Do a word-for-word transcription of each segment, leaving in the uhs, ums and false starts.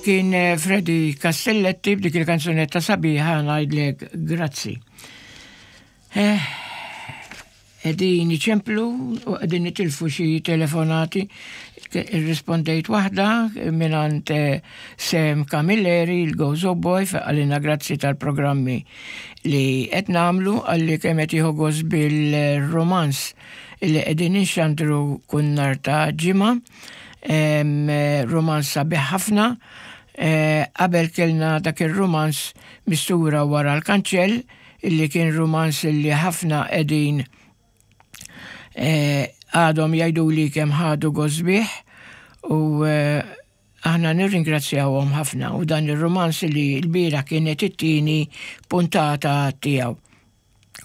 Kien eh, Freddy Castelletti b'dik il-kanzunetta sabiħa ngħidlek grazzi. Eh, qegħdin iċemplu u qegħdin nitilfu xi telefonati. Irrispondejt waħda mingħand eh, Sam Camilleri, il-Gozo Boy, qalilna grazzi tal-programmi li qed nagħmlu, qalli kemm qed jieħu gost bil-romans li qegħdin inxandru kull nhar ta' Ġimgħa. Romans sabiħ ħafna. Eh, qabel kellna dak il-romans Mistura wara l-kanċell, illi kien romans illi ħafna qegħdin eh, għadhom jgħidu li kemm ħadu gost bih u eh, aħna nirringrazzjawhom ħafna u dan il-romans li l-bieraħ kienet it-tieni puntata tiegħu.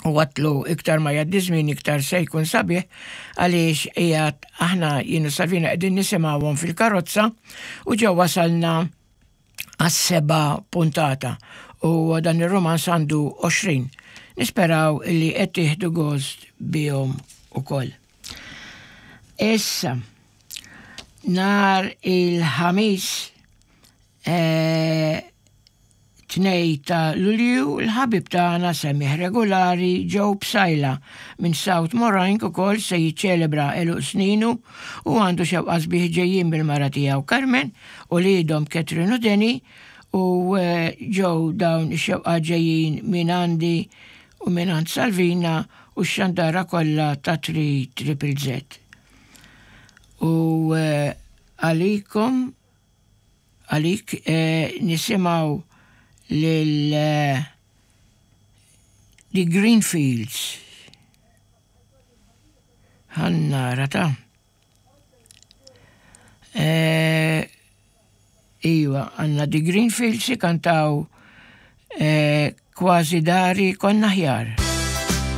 U għedtlu iktar ma jgħaddi żmien iktar se jkun sabiħ għaliex qiegħed aħna jien u Salvina qegħdin nisimgħuhom fil-karozza u ġew wasalna għas-seba' puntata u dan ir-romans għandu għoxrin. Nisperaw li qed tieħdu gost bihom ukoll. Issa, nhar il-Ħamis eh, tnejn ta' Lulju, l-ħabib tagħna semmiegħ regolari Joe Psaila minn South Moraine ukoll se jiċċelebra għeluq sninu u għandu xewqat sbieħ ġejjin bil-mara tiegħu Carmen u uliedhom Catherine u Denny u eh, ġew dawn ix-xewqat ġejjin minn għandi u minn għand Salvina u x-xandara kollha ta' three Triple Z. U eh, għalikom għalik eh, nisimgħu lil eh, The Greenfields. Ħa nara ta' eh, Iva, għandna The Greenfields kantaw eh, Kważi dari konna aħjar.